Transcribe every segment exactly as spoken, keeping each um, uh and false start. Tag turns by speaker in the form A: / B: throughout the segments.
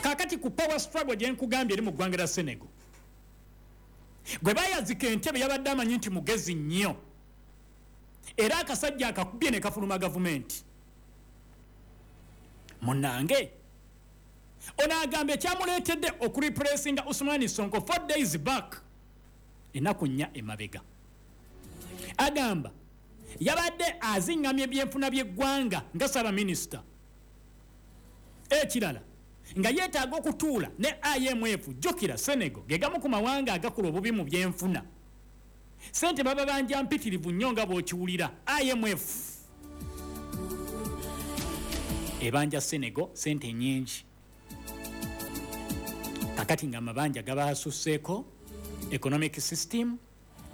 A: Kakati ku power struggle gye nkugambye eri mu ggwanga lya Senegal, gwe bayazika entebe yabadde amanyi nti mugezi nnyo, era akasajja akakubye ne kafuluma gavumenti. Munnange ono agamba ekyamuleetedde okureplacinga Ousmane Sonko four days back, ennaku nnya emabega, agamba yabadde aziŋŋamya ebyenfuna by'eggwanga nga ssaabaminisita. Ekirala nga yeetaaga okutuula ne I M F. Jjukira Senegal ge gamu ku mawanga agakola obubi mu byenfuna, ssente baba banja mpitirivu nnyo nga bw'okiwulira. I M F ebanja Senegal ssente nnyingi. Kakati nga amabanja gabasusseeko economic system,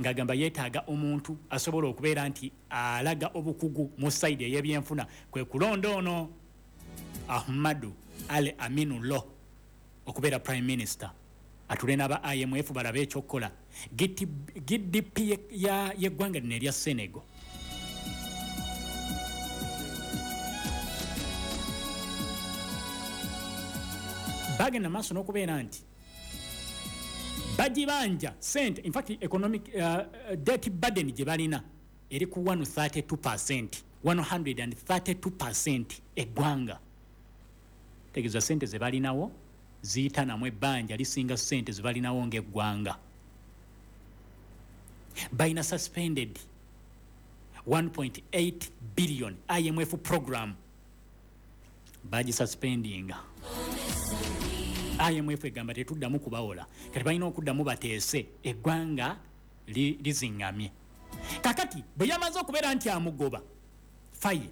A: ng'agamba yeetaaga omuntu asobola okubeera nti alaga obukugu mu side ey'ebyenfuna, kwe kulonda ono Ahmadu Al Aminu Lo okubeera prime minister, atule n'aba I M F balabe ekyokukola. G D P y'eggwanga lino erya Senegal bagenda maaso n'okubeera nti bagibanja sente. In fact economic uh, debt burden gye balina eri ku one thirty-two percent, one hundred thirty-two percent eggwanga. Tegeeza sente ze balinawo ziyita namu ebbanja lisinga sente ze balinawo ng'eggwanga. Balina suspended one point eight billion I M F program, bagisuspendinga. I M F egamba tetuddamu kubawola, kati balina okuddamu bateese eggwanga liziŋŋamye. Kakati bwe yamaze okubeera nti amugoba Faye,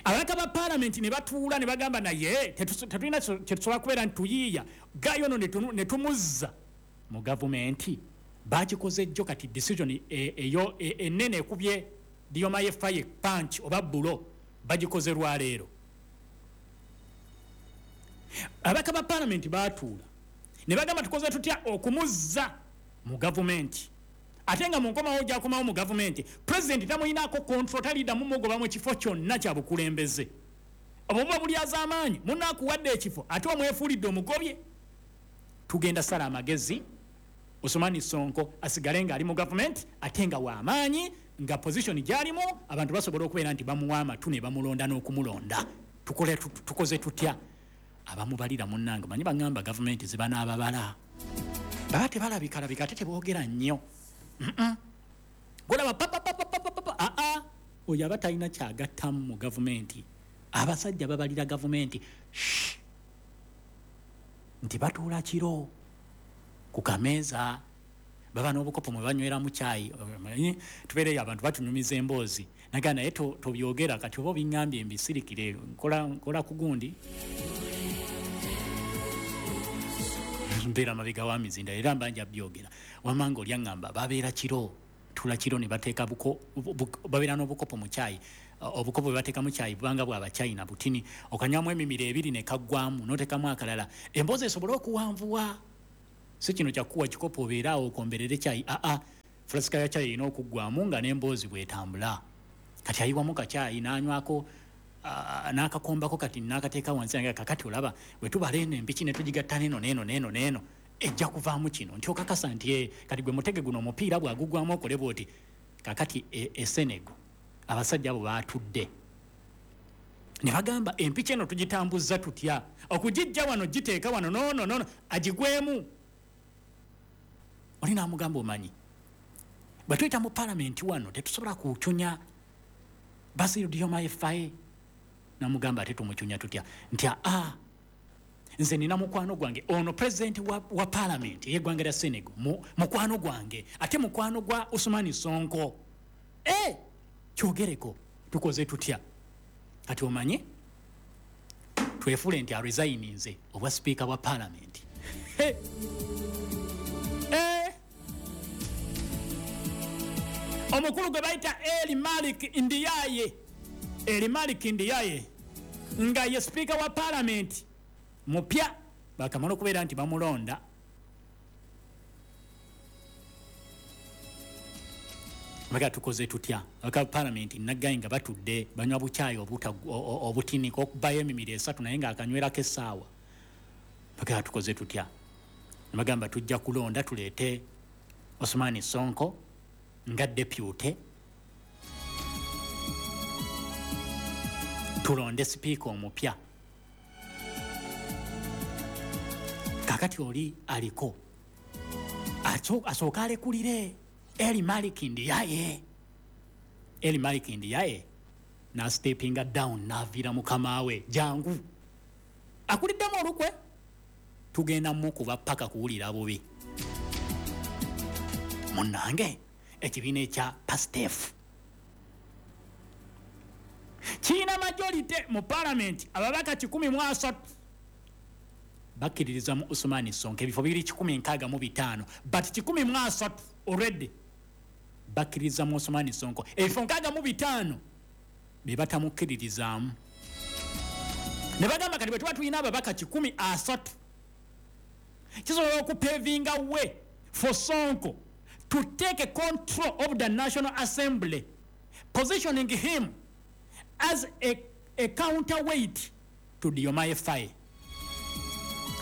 A: ababaka ba paalamenti ne batuula ne bagamba naye tetulina kyetusobola kubeera nti tuyiiya gayo ono ne tumuzza mu gavumenti. Bakikoze jjo. Kati decision eyo ennene ekubye Diomaye Faye punch oba bulo bagikoze lwaleero. Ababaka ba paalamenti baatuula ne bagamba tukoze tutya okumuzza mu gavumenti, ate nga mu nkomawo gy'akomawo mu gavumenti pulezidenti tamuyinaako control, taliddamu mugoba mu kifo kyonna kya bukulembeze. Obwo buba bulyazaamaanyi, munaakuwadde ekifo ate omwefuulidde omugobye. Tugenda sala amagezi Ousmane Sonko asigale ng'ali mu gavumenti ate nga w'amaanyi, nga position gy'alimu abantu basobola okubeera nti bamuwa amatu ne bamulonda n'okumulonda. Tukole tukoze tutya? Abamubalira munnange manyi baŋŋamba gavumenti ziba n'ababala baba tebalabikalabika ate teboogera nnyo. Golaba papapapapapa aa oyo aba talina kyagattamu mu gavumenti. Abasajja babalira gavumenti nti batuula kiro ku kameeza, baba n'obukopo mwe banyweramu caayi. Tubeereyo abantu batunyumiza emboozi naga naye tobyogera kati oba obiŋŋambye mbisirikire, nkola nkola ku gundi mbeera mabega wa mizinda era mbanja byogera. Wamanga olyaŋŋamba babeera kiro, tula kiro ne bateeka buko babeera n'obukopo mu caayi. Obukopo bwe bateeka mu caayi bubanga bwa Abachina butini, okanywamu emimiro ebiri ne kaggwamu n'oteekamu akalala, emboozi esobole okuwanvuwa. Si kino kyakuwa kikopo obeere awo okomberere caayi, aa fulasika ya caayi erina okuggwamu nga n'emboozi bw'etambula. Kati ayiwamu kacaayi n'anywako n'akakombako kati n'akateeka wansi, nga kakati olaba bwe tubala eno empiki ne tugigatta n'eno n'eno n'eno n'eno ejja kuvaamu kino nti okakasa nti kati gwe mutege guno omupiira bw'agugwamu okole bw'oti. Kakati e Senegal abasajja abo baatudde ne bagamba empiki eno tugitambuza tutya okugijja wano giteeka wano nono nono agigwemu. Oli n'amugamba omanyi bwe tuyita mu paalamenti wano tetusobola kucunya Bassirou Diomaye Faye. Namugamba ate tumucunya tutya? Nti aa nze nina mukwano gwange ono president wa, wa parliament ey'eggwanga lya Senegal, mukwano gwange ate mukwano gwa Ousmane Sonko. Eh, kyogereko tukoze tutya? Kati omanyi twefuule nti aresigninze obwa speaker wa parliament. Hey. Eh. Omukulu gwe bayita Eli Malik Ndiaye, Eli Malik Ndiaye nga ye speaker wa parliament mupya, bakamala okubeera nti bamulonda. Maka tukoze tutya? Aka parliament nagaye nga batudde banywa bukyayi obutinika okubayo emimiro esatu naye nga akanywerako essaawa. Maka tukoze tutya? Bagamba tujja kulonda tuleete Osman Sonko nga deputy, tulonde sipiika omupya. Kakati oli aliko asooka alekulire Eli Malik Ndiaye. Eli Malik Ndiaye na steppinga down n'aviira mukama we, jangu akuliddemu olukwe, tugenda mukuba paka kuwulira bubi. Munnange ekibiina ekya Pastef kirina majority mu parliament, ababaka kikumi mu asatu bakkiririza mu Usman Sonko, ebifo biri kikumi nkaaga mu bitaano, but kikumi mu asatu already bakkiririza mu Usman Sonko, ebifo nkaaga mu bitaano be batamukkiririzaamu. Ne bagamba kati bwe tuba tulina ababaka kikumi asatu kisobola okupavinga way for Sonko to take control of the National Assembly, positioning him as a, a counterweight to Diomaye Faye.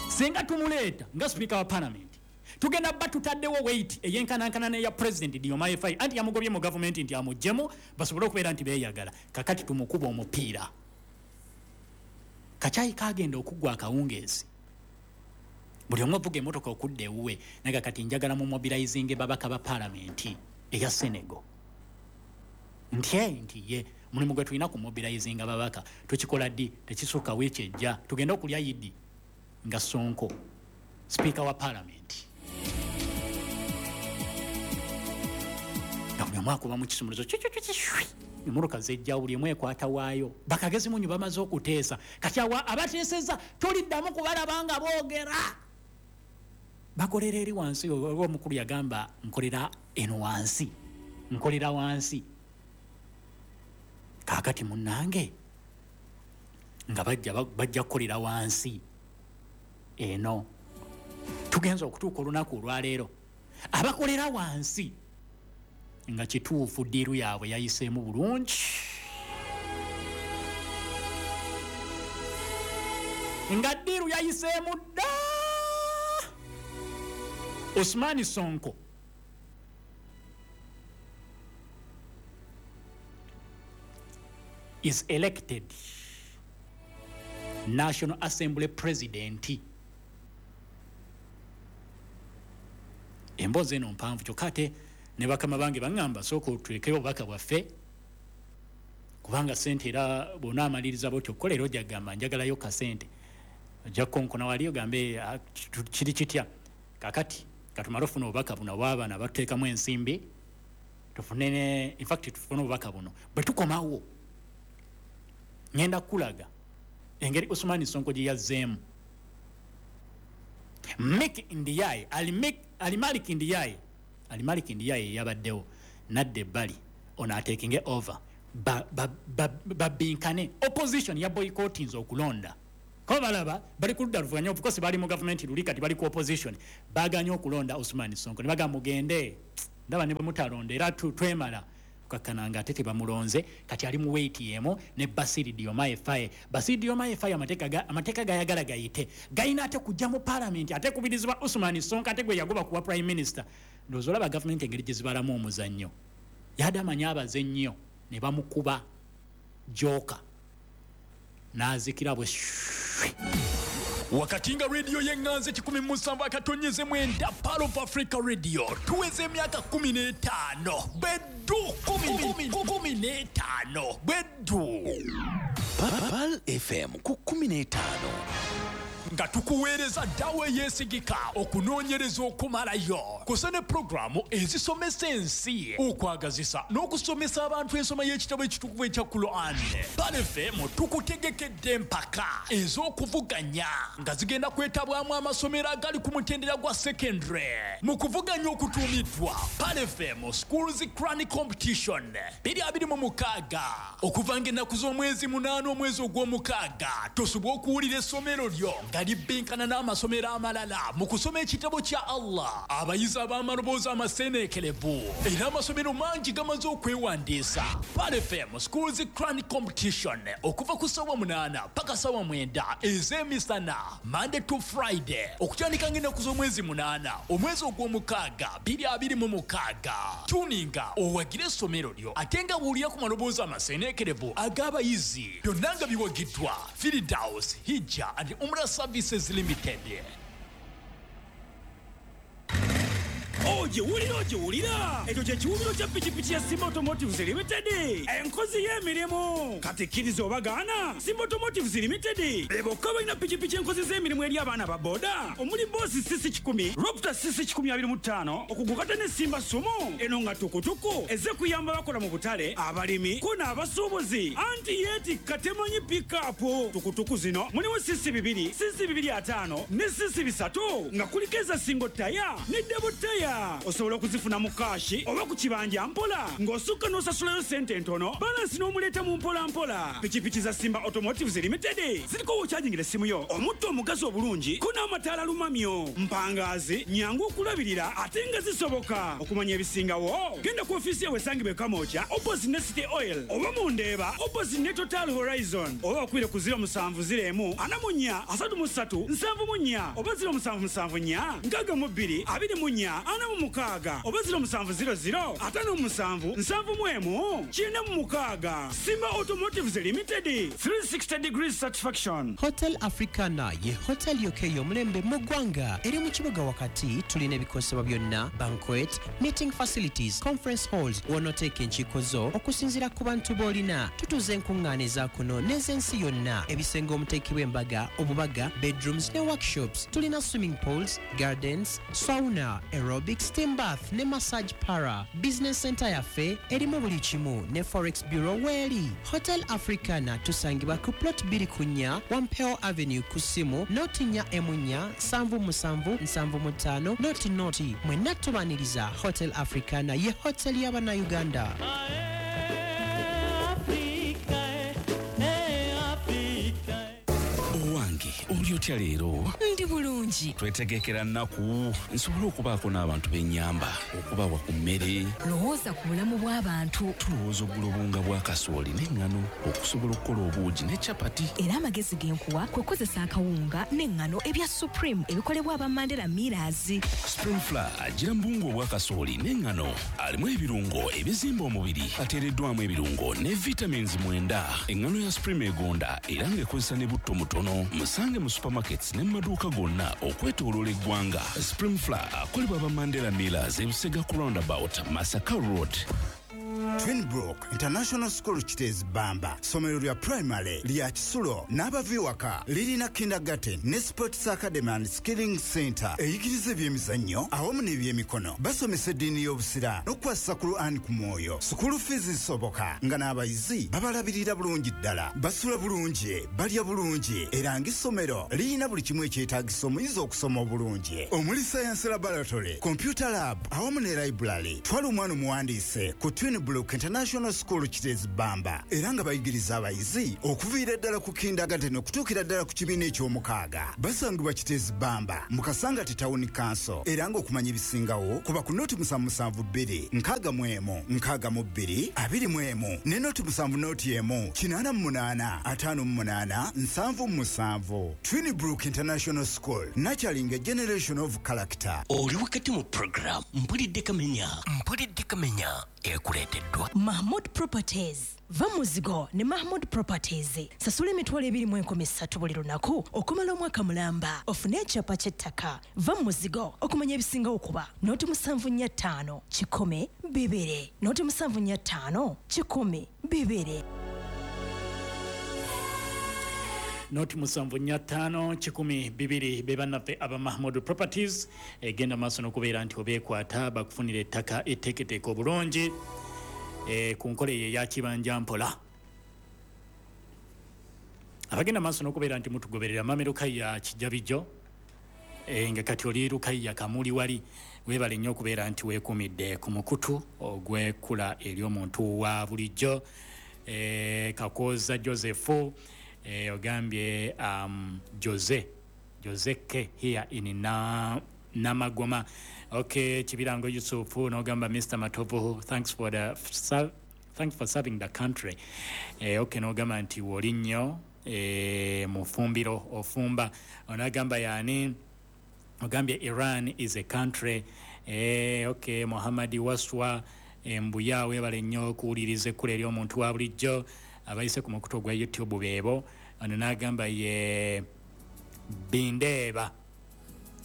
A: Singa tumuleeta nga speaker wa parliament, tugenda ba tutaddewo weight eyenkanankana n'eya president Diomaye Faye, anti yamugobye mu government nti amuggyemu basobole okubeera nti beeyagala. Kakati tumukuba omupiira. Kacyayi kagenda okuggwa akawungeezi, buli omu avuga emmotoka okudda ewuwe, naye kati njagala mu mobilizinge babaka ba parliament eya Senegal. Nti nti ye mulimu gwe tulina ku mobilizinga babaka tukikola ddi? Tekisukka wiiki ejja tugenda okulya yidi nga Sonko speaker wa parliament. Nga buli omu akuba mu kisumuluzo emmotoka zejja buli emu ekwata waayo, bakagezi munyu bamaze okuteesa. Kati awa abateesezza toliddamu kubalaba nga boogera, bakolera eri wansi. Omukulu yagamba nkolera eno wansi, nkolera wansi. Kaakati munnange nga bajja bajja kukolera wansi eno. Tugenza okutuuka olunaku olwaleero abakolera wansi nga kituufu ddiiru yaabwe yayiseemu bulungi, nga ddiiru yayiseemu dda. Osman Sonko is elected National Assembly President. Emboozi eno mpanvu kyokka ate ne bakama bange baŋŋamba sooka otulekeyo obubaka bwaffe, kubanga ssente era bw'onaamaliriza bw'otyo okukola era ojja kugamba njagalayo kasente, ojja kukonkona wali ogambe kiri kitya. Kakati katumale ofuna obubaka buno obw'abaana batuteekamu ensimbi tufune ne in fact tufune obubaka buno bwe tukomawo ngenda kukulaga engeri Usman Sonko gye yazzeemu. Mik Ndiaye Alimalik Ndiaye Alimalik Ndiaye yabaddewo nadda ebbali ono atekinge over babinkane ba, ba, opposition ya boycottinze okulonda. Ko balaba bali ku ludda luvuganya, of course bali mu government luli kati bali ku opposition, baganye okulonda Usman Sonko ne bagamba mugende ndaba ne bwe mutalonda era twemala kukakkananga ate tebamulonze. Kati ali mu weight yemu ne Bassirou Diomaye Faye. Bassirou Diomaye Faye amateeka amateeka gayagala gayite gayina ate kujja mu parliament ate kubirizibwa Usman Sonko ate gwe yagoba kuwa prime minister. Ndowooza olaba government engeri gye zibalamu omuzannyo, yadde amanyi abaze nnyo ne bamukuba joka n'azikira bwe.
B: Wakati nga radio y'eŋŋanze kikumi mu musanvu akatonyeze mwenda Pearl of Africa Radio tuweze emyaka kumi n'etaano beddu kumi n'etaano beddu
C: Pearl F M ku kumi n'etaano
B: nga tukuweereza ddawa eyeesigika okunoonyereza okumalayo kusa ne pulogulaamu ezisomesa ensi, okwagazisa n'okusomesa abantu ensoma y'ekitabo ekitukuvu ekya Quran. Pearl F M tukutegekedde empaka ez'okuvuganya nga zigenda kwetabwamu amasomero agali ku mutendera gwa secondary mu kuvuganya okutuumiddwa Pearl F M Schools Quran Competition bbiri abiri mu mukaaga okuva ng'ennaku z'omwezi munaana omwezi ogw'omukaaga. Tosobola okuwulira essomero lyo nga libbinkana n'amasomero amalala mu kusoma ekitabo kya Allah. Abayizi ab'amaloboozi amaseeneekerevu era amasomero mangi gamaze okwewandiisa. Pearl F M Schools Quran Competition okuva ku ssaawa munaana paka ssaawa mwenda ez'emisana, Monday to Friday, okutandika ng'ennaku z'omwezi munaana omwezi ogw'omukaaga bbiri abiri mu mukaaga. Tuninga owagire essomero lyo ate nga bw'olira ku maloboozi amaseeneekerevu ag'abayizi. Byonna nga biwagiddwa Firdaus Hijja and Umrah Services Limited.
D: Ogiwulira, ogiwulira, ekyo kye kiwubiro kya pikipiki ya Simba Automotives Limited, enkozi y'emirimu. Kati kkiriza obagaana, Simba Automotives Limited be bokka balina pikipiki enkozi z'emirimu eri abaana ba boda, omuli Boss C C kikumi, Raptor C C kikumi abiri mu ttaano, okugukata ne Simba Sumo eno nga tukutuku ezze kuyamba abakola mu butale, abalimi ko n'abasuubuzi. Anti yeetikka temanyi pikapu. Tukutuku zino mulimu C C bibiri, C C bibiri ataano ne C C bisatu, nga kuliko eza single taya ne double taya. Osobola okuzifuna mu kaashi oba ku kibanja mpola, ng'osukka n'osasulayo ssente ntono, balansi n'omuleeta mu mpola mpola. Pikipiki za Simba Automotives Limited ziriko w'okyajingira essimu yo, omutto omugazi obulungi ko n'amataala lumamyo, mpangaazi, nyangu okulabirira ate nga zisoboka. Okumanya ebisingawo genda ku ofiisi yaabwe esangibwa e Kamwokya opposite ne City Oil, oba mu Ndeeba opposite ne Total Horizon, oba bakubire ku ziro musanvu ziro emu ana mu nnya asatu mu ssatu nsanvu mu nnya, oba ziro musanvu musanvu nnya nkaaga mu bbiri abiri mu nnya ana mu mukaaga, oba ziro musanvu ziro ziro ataano mu musanvu nsanvu mu emu kyenda mu mukaaga. Simba Automotives Limited, three sixty degrees satisfaction.
E: Hotel Africana ye hotel yokka ey'omulembe mu ggwanga. Eri mu kibuga wakati. Tulina ebikozesebwa byonna, banquet, meeting facilities, conference halls, w'onooteeka enkiiko zo okusinziira ku bantu b'olina. Tutuuza enkuŋŋaana eza kuno n'ez'ensi yonna, ebisenge omuteekebwa embaga, obubaga, bedrooms ne workshops. Tulina swimming pools, gardens, sauna, aerobic, steam bath ne massage parlour. Business center yaffe erimu buli kimu ne forex bureau weeri. Hotel Africana tusangibwa ku plot bbiri ku nnya Wampeo Avenue, ku ssimu noti nnya emu nnya nsanvu musanvu nsanvu mu ttaano noti noti. Mwenna tubaniriza. Hotel Africana ye hotel y'Abannayuganda.
C: Owange, oli otya leero?
F: Ndi bulungi.
C: Twetegekera nnaku nsobole okubaako n'abantu b'ennyamba, okubawa ku mmere.
F: Lowooza ku bulamu bw'abantu.
C: Tulowooza ogula obuwunga bwa kasooli n'eŋŋano okusobola okukola obuugi ne capati.
F: Era amagezi ge nkuwa kwe kukozesa akawunga n'eŋŋano ebya Supreme ebikolebwa aba Mandela Millers.
C: Supreme Flour agira mu buwunga obwa kasooli n'eŋŋano, alimu ebirungo ebizimba omubiri, ateereddwamu ebirungo ne vitamins mwenda. Eŋŋano ya Supreme egonda era ng'ekozesa ne butto mutono. Musange mu supermarkets ne mu maduuka gonna okwetooloola eggwanga. Supreme Flour akolebwa aba Mandela Millers, Ebusega ku roundabout, Masaka Road.
G: Twinbrook International School Kiteezi Bamba, ssomero lya primary lya kisulo n'abava ewaka. Lirina kindergarten ne sports academy and skilling center eyigiriza ebyemizannyo awamu n'ebyemikono. Basomesa eddiini y'Obusiraamu n'okukwasisa Quran ku mwoyo. School fees zisoboka nga n'abayizi babalabirira bulungi ddala, basula bulungi, balya bulungi, era ng'essomero lirina buli kimu ekyetaagisa omuyizi okusoma obulungi, omuli science laboratory, computer lab awamu ne library. Twala omwana omuwandiise ku Twinbrook International School Kiteezi Bamba, era nga bayigiriza abayizi okuviira ddala ku kindergarten okutuukira ddala ku kibiina eky'omukaaga. Basangibwa Kiteezi Bamba mu Kasangati Town Council, era ng'okumanya ebisingawo kuba ku noti musanvu musanvu bbiri nkaaga mu emu nkaaga mu bbiri abiri mu emu ne noti musanvu noti emu kinaana mu munaana ataano mu munaana nsanvu mu musanvu. Twinbrook International School, nurturing a generation of character.
H: Oli wakati mu program Mpulidde Kamenya. Mpulidde Kamenya ekuleeteddwa
F: Mahmood Properties. Va muzigo ne Mahmood Properties. Sasula emitwalo ebiri mu enkumi ssatu buli lunaku okumala omwaka mulamba, ofune ekyapa ky'ettaka. Va muzigo. Okumanya ebisingawo kuba noti musanvu nnya ttaano kikumi bibiri, noti musanvu nnya ttaano kikumi bibiri.
A: Noti musanvu nnya ttaano kikumi bibiri be bannaffe aba Mahmood Properties. Egenda maaso n'okubeera nti obeekwata bakufunira ettaka etteeketeeke obulungi e, ku nkola eyo eya kibanja mpola. Abagenda maaso n'okubeera nti mutugoberera, mame Lukaya Kijabijjo, e, nga kati oli Lukaya Kamuli wali, weebale nnyo okubeera nti weekuumidde ku mukutu ogw'ekkula eri omuntu wa bulijjo. e, Kakooza Joseph, e, ogambye um, Jose Joseke here in na, Namagoma. Okay, Chibirango Yusufu nogamba Mister Matovu, thanks for the thanks for serving the country. Eh, okay, nogamba nti wolinyo eh, mufumbiro ofumba. Onagamba yani ogambye Iran is a country. Eh, okay, Muhammadi Waswa mbuya webale nnyo kuwuliriza ekkula eri omuntu wa bulijjo abayise ku mukutu gwa YouTube beebo. Ono n'agamba ye Bindeeba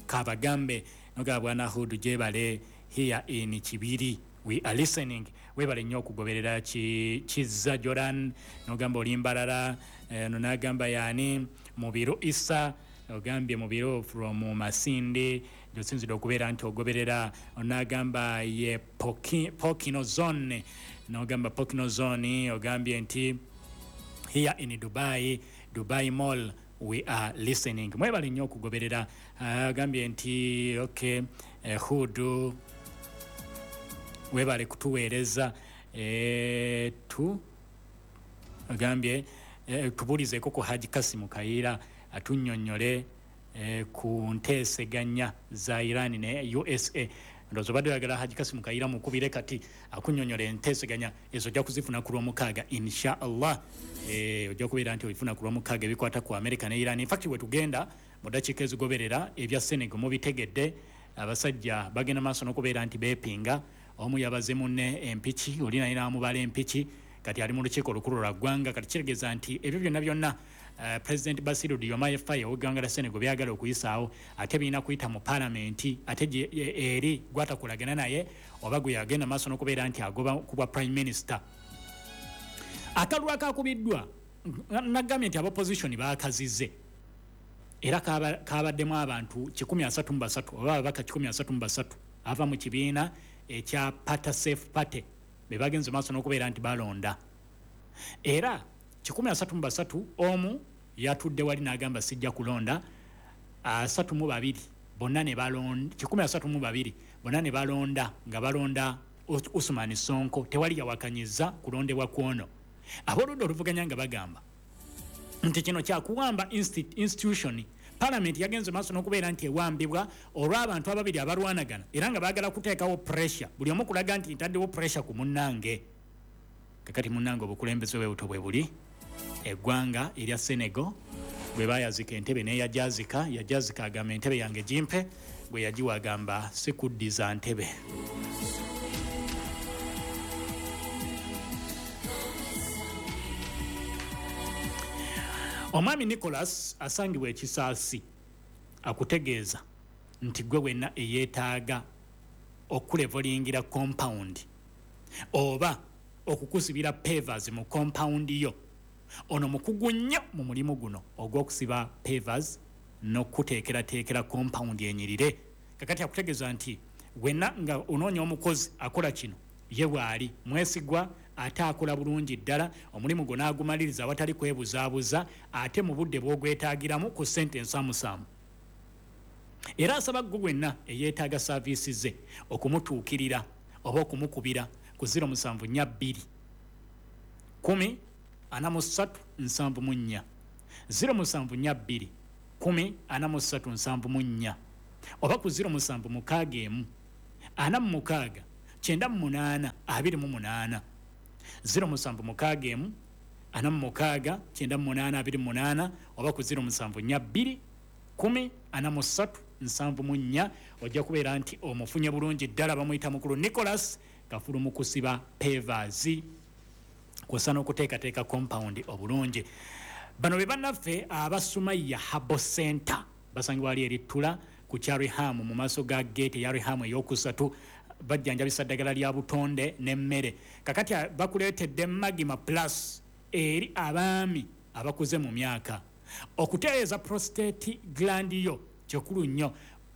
A: Kabagambe nogamba Bwana Hudu jebale here in Kibiri we are listening. Webale nnyo okugoberera Kizza Jordan nogamba oli Mbarara. Ono n'agamba yani Mubiru Isa ogambye Mubiru from Masindi josinzidde okubeera nti ogoberera. Onagamba ye Poki, Pokino Zone nogamba Pokino Zone ogambye nti here in Dubai, Dubai Mall we are listening. Mwebale nnyo okugoberera. Ogambye nti okay, eh, Hudu webale kutuweereza eh, tu ogambye eh, tubuulizeeko ku Haji Kasimu Kayiira atunnyonnyole eh, ku nteeseganya za Iran ne U S A. Ndowooza obadde oyagala Haji Kasimu Kayiira mukubire kati akunnyonnyole enteeseganya ezo ojja kuzifuna ku Lwomukaaga insha Allah. Eh, ojja kubeera nti olifuna ku Lwomukaaga ebikwata ku America ne Iran. In fact we tugenda mu ddakiika ezigoberera ebya Senegal mubitegedde, abasajja bagenda maaso n'okubeera nti beepinga. Omu yabaze munne empiki, oli naye n'amubala empiki, kati ali mu lukiiko olukulu lwa ggwanga. Kati kitegeeza nti ebyo byonna byonna Uh, President Bassirou Diomaye Faye ow'eggwanga lya Senegal byagala okuyisaawo ate birina kuyita mu paalamenti ate eri gwatakolagana naye oba gwe yagenda maaso n'okubeera nti agoba ku bwa prime minister. Akalulu akakubiddwa nagambye nti abopposition baakazize era kabaddemu abantu kikumi asatu mu basatu oba ababaka kikumi asatu mu basatu ava mu kibiina ekya Patasafe Party be bagenze maaso n'okubeera nti balonda. Era kikumi asatu mu basatu omu yatudde wali n'agamba sijja kulonda, asatu mu babiri bonna ne balonda, kikumi asatu mu babiri bonna ne balonda nga balonda Usman Sonko, tewali yawakanyiza kulondebwa kwono. Ab'oludda oluvuganya nga bagamba nti kino kyakuwamba institution. Parliament yagenze maaso n'okubeera nti ewambibwa olw'abantu ababiri abalwanagana era nga baagala kuteekawo pressure, buli omu kulaga nti ntaddewo pressure ku munnange. Kakati munnange obukulembeze bwe buto bwe buli eggwanga erya Senegal bwe bayazika entebe n'eyajazika, yajazika agamba entebe yange gimpe, bwe yagiwa agamba sikuddiza ntebe. Omwami Nicholas asangibwa ekisaasi akutegeeza nti gwe wenna eyeetaaga okulevolingira compound oba okukusibira pavers mu compound yo. Ono mukugu nnyo mu mulimu guno ogw'okusiba pavers n'okuteekerateekera compound enyirire. Kakati akutegeeza nti wenna nga onoonya omukozi akola kino ye bw'ali mwesigwa ate akola bulungi ddala, omulimu gwo n'agumaliriza awatali kwebuzaabuza ate mu budde bw'ogwetaagiramu ku ssente ensaamusaamu. Era asaba ggwe wenna eyeetaaga saaviisi ze okumutuukirira oba okumukubira ku ziro musanvu nnya bbiri kumi ana mu ssatu nsanvu mu nnya ziro musanvu nnya bbiri kumi ana mu ssatu nsanvu mu nnya oba ku ziro musanvu mukaaga emu ana mu mukaaga kyenda mu munaana abiri mu munaana ziro musanvu mukaaga emu ana mu mukaaga kyenda mu munaana abiri mu munaana oba ku ziro musanvu nnya bbiri kumi ana mu ssatu nsanvu mu nnya. Ojja kubeera nti omufunye bulungi ddala. Bamuyita mukulu Nicholas Kafulu mu kusiba pavers kw'ossa n'okuteekateeka compound obulungi. Bano be bannaffe aba Sumaya Herbal Center basangibwa wali eri Ttula ku kya Reham mu maaso ga gate ya Reham ey'okusatu. Bajjanjabisa ddagala lya butonde n'emmere. Kakati bakuleetedde Magma Plus eri abaami abakuze mu myaka. Okutereeza prostate gland yo kikulu nnyo,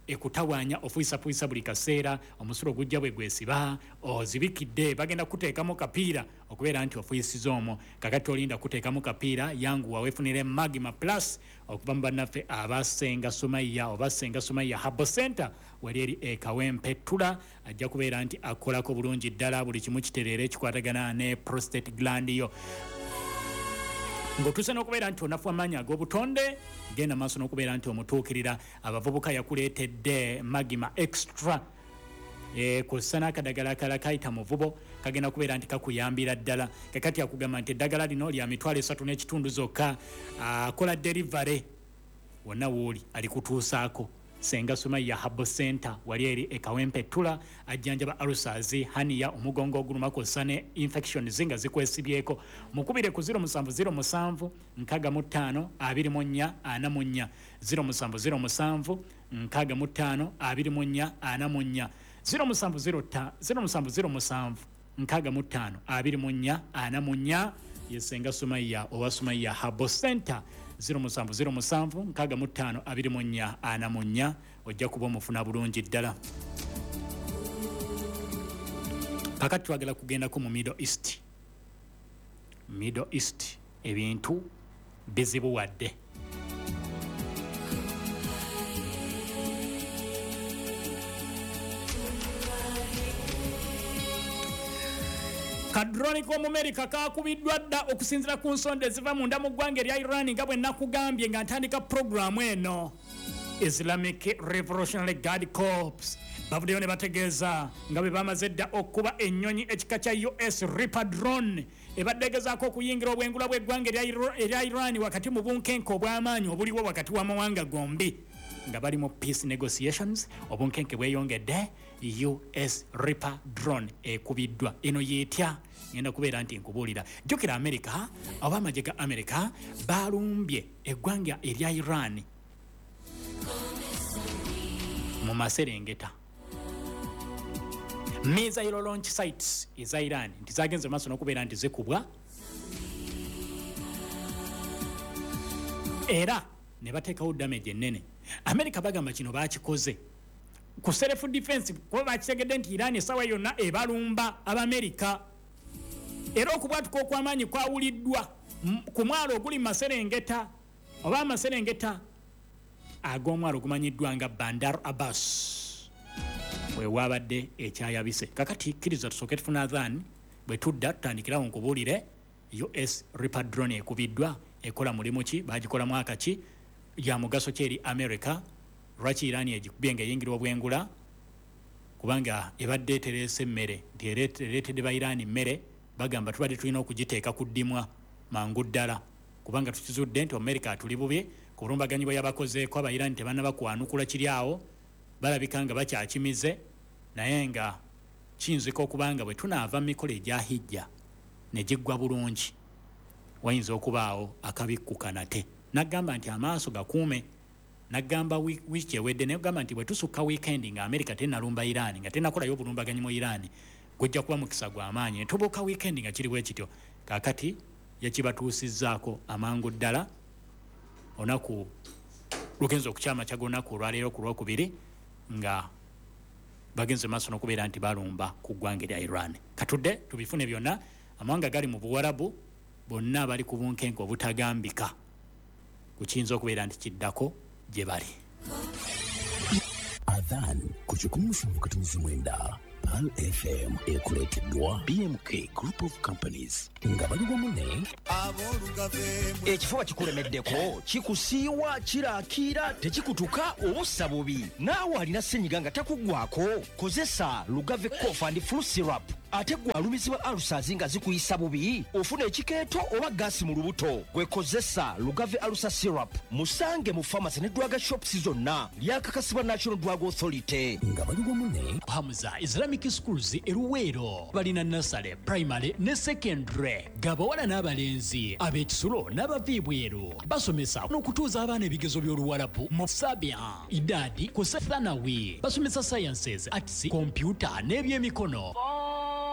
A: ekutawaanya ofuyisafuuyisa buli kaseera, omusulo gujja bwe gwesiba, ozibikidde, bagenda kuteekamu kapiira okubeera nti ofuyisiza omwo. Kakati olinda kuteekamu kapiira, yanguwa weefunire Magma Plus okuva mu bannaffe abasenga Sumaya oba Senga Sumaya Herbal Center wali eri e Kawempe Ttula. Ajja kubeera nti akolako bulungi ddala, buli kimu kitereere ekikwatagana ne prostate gland yo. Ng'otuuse n'okubeera nti onafu amaanyi ag'obutonde, genda maaso n'okubeera nti omutuukirira. Abavubuka yakuleetedde Magma Extra, e, kw'ossa n'akadagala akalala kayita muvubo, kagenda kubeera nti kakuyambira ddala. Kakati akugamba nti eddagala lino lya mitwalo esatu n'ekitundu zokka, akola delivery wonna wooli alikutuusaako. Senga Sumaya Herbal Center wali eri e Kawempe Ttula, ajjanjaba ulcers, hernia, omugongo oguluma kw'ossa ne infections nga zikwesibyeko. Mukubire ku zero musanvu zero musanvu nkaaga mu ttaano abiri mu nnya ana mu nnya, zero musanvu zero musanvu nkaaga mu ttaano abiri mu nnya ana mu nnya, zero musanvu zero ta zero musanvu zero musanvu nkaaga mu ttaano abiri mu nnya ana mu nnya. Ye Senga Sumaya owa Sumaya Herbal Center, zero musanvu zero musanvu nkaaga mu ttaano abiri mu nnya ana mu nnya, ojja kuba omufuna bulungi ddala. Kakati twagala kugendako mu Middle East. Middle East ebintu bizibuwadde. Ka drone k'Omumerika kakubiddwa dda okusinziira ku nsonda eziva munda mu ggwanga erya Iran, nga bwe nakugambye nga ntandika puroguramu eno. Islamic Revolutionary Guard Corps bavuddeyo ne bategeeza nga bwe bamaze dda okuba ennyonyi ekika kya U S Reaper drone ebadde egezaako okuyingira obwengula bw'eggwanga erya Iran wakati mu bunkenke obw'amaanyi obuliwo wakati w'amawanga gombi nga bali mu peace negotiations. Obunkenke bweyongedde. U S Reaper drone ekubiddwa. Eno yeetya? Ngenda kubeera nti nkubuulira. Jjukira America oba amagye ga America balumbye eggwanga erya Iran mu maserengeta, missile launch sites eza Iran nti zagenze maaso n'okubeera nti zikubwa, era ne bateekawo damage ennene. America bagamba kino bakikoze ku self defense, kuba bakitegedde nti Iran essaawa yonna ebalumba Abamerika. Era okubwatuka okw'amaanyi kwawuliddwa ku mwalo oguli mu maserengeta oba amaserengeta ag'omwalo ogumanyiddwa nga Bandar Abbas, wewabadde ekyayabise. Kakati kkiriza tusooke tufuna adhan, bwe tudda tutandikirawo nkubuulire U S Reaper drone ekubiddwa ekola mulimu ki, bagikola mwaka ki, ya mugaso ki eri America, lwaki Iran egikubye nga eyingira obwengula, kubanga ebadde etereese emmere nti ereetedde ba Iran mmere. Bagamba tubadde tulina okugiteeka ku ddimwa mangu ddala, kubanga tukizudde nti America atuli bubi ku bulumbaganyi bwe yabakozeeko. Aba Iran tebannaba kwanukula kiri awo, balabika nga bakyakimize, naye nga kiyinzika okubanga bwe tunaava mu mikolo egya hijja ne giggwa bulungi, wayinza okubaawo akabikkuka nate. Nagamba nti amaaso gakuume. Nagamba wiiki ewedde, nagamba nti bwe tusukka weekend nga America tenalumba Iran, nga tenakolayo obulumbaganyi mu Iran, gujja kuba mukisa gw'amaanyi. Ne tubuuka weekend nga kiri bwe kityo. Kaakati yakibatuusizzaako amangu ddala olunaku lugenza okukyama kyaga olunaku olwaleero ku Lwokubiri nga bagenze maaso n'okubeera nti balumba ku ggwanga erya Iran. Katudde tubifune byonna. Amawanga gali mu Buwarabu bonna bali ku bunkenke obutagambika kukiyinza okubeera nti kiddako gye bali.
H: Adhan ku kikumi musanvu katonzi mwenda Pearl F M ekuleeteddwa B M K Group of Companies nga bali wamu ne
I: Ekifuba kikulemeddeko, kikusiiwa, kiraakiira, tekikutuka, obussa bubi, naawe alina ssenyiga nga takuggwako, kozesa Lugave Cough and Flu Syrup. Ate gwe alumizibwa ulcers nga zikuyisa bubi, ofuna ekikeeto oba gaasi mu lubuto, gwe kozesa Lugave Ulcer Syrup. Musange mu pharmacy ne drug shops zonna. Lyakakasibwa National Drug Authority.
H: Nga bali wamu ne
B: Hamza Islamic Schools eruweero balina nursery, primary ne secondary, gabawala n'abalenzi, ab'ekisulo n'abava ebweru. Basomesa n'okutuuza abaana ebigezo by'Oluwalabu mu sabia, idadi ku thanawi. Basomesa sciences, arts, computer n'ebyemikono.